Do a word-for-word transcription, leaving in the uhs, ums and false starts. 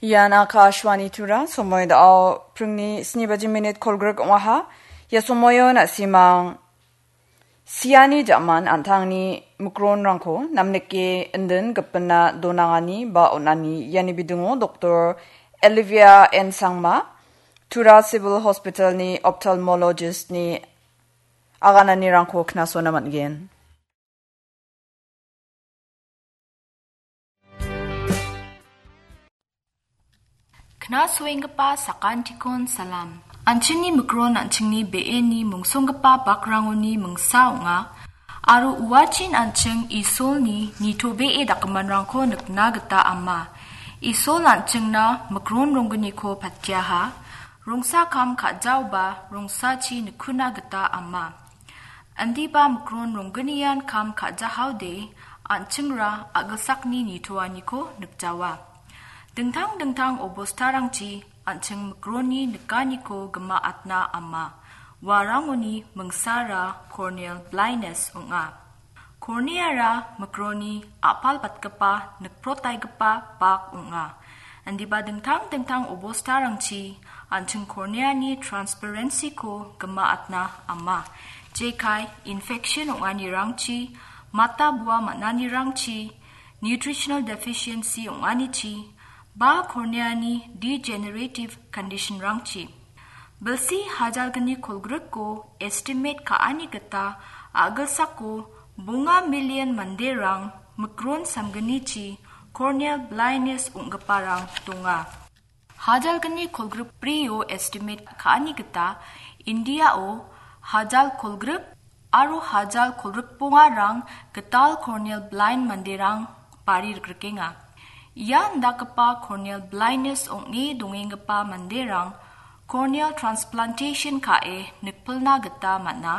Ian Akashvani Tura, somoy dao pringni sni baji minit kolgrik ong·aha. Ia somoyon na·simang siani jaman an·tangni mikronrangko namnike indin gipina donangani ba on·ani iani bidingo Doktor Olivia N Sangma, Tura Civil Hospitalni ophthalmologistni agananirangko knasona man·gen. Knasoenggipa sakantikon salam. An·chingni mikron an·chingni be·eni mungsonggipa bakrangoni mingsa ong·a, aro uachin an·ching Isolni nitobee dakgiminrangko nikna gita ama. Isol an·chingna mikron ronggniko patiaha, rongsa kam ka·jaoba rongsachi nikuna gita ama. Indiba mikron ronggnian kam ka·jahaode an·chingra a·gilsakni nitoaniko nikjawa. Dingtang dingtang obostarangchi an·ching mikronni nikaniko gima·atna ama. Uarangoni mingsara corneal blindness ong·a. Corneara mikronni a·palbatgipa nikprotaigipa bak ong·a. Indiba dingtang dingtang obostarangchi an·ching corneani transparency-ko gima·atna ama. Jekai infection ong·anirangchi, mata bua man·anirangchi, nutritional deficiency ong·anichi, ba corneani degenerative condition-rangchi. Bilsi hajalgni kolgrikko estimate ka·ani gita a·gilsako bonga million manderang mikron samgnichi corneal blindness ong·giparang donga. Hajalgni kolgrikbrio estimate ka·ani gita Indiao hajal kolgrik aro hajal kolgrikbongarang gital corneal blind manderang bari rikrikenga. Ia indakgipa corneal blindness ong·e dongenggipa manderang corneal transplantation ka·e nikpilna gita man·a.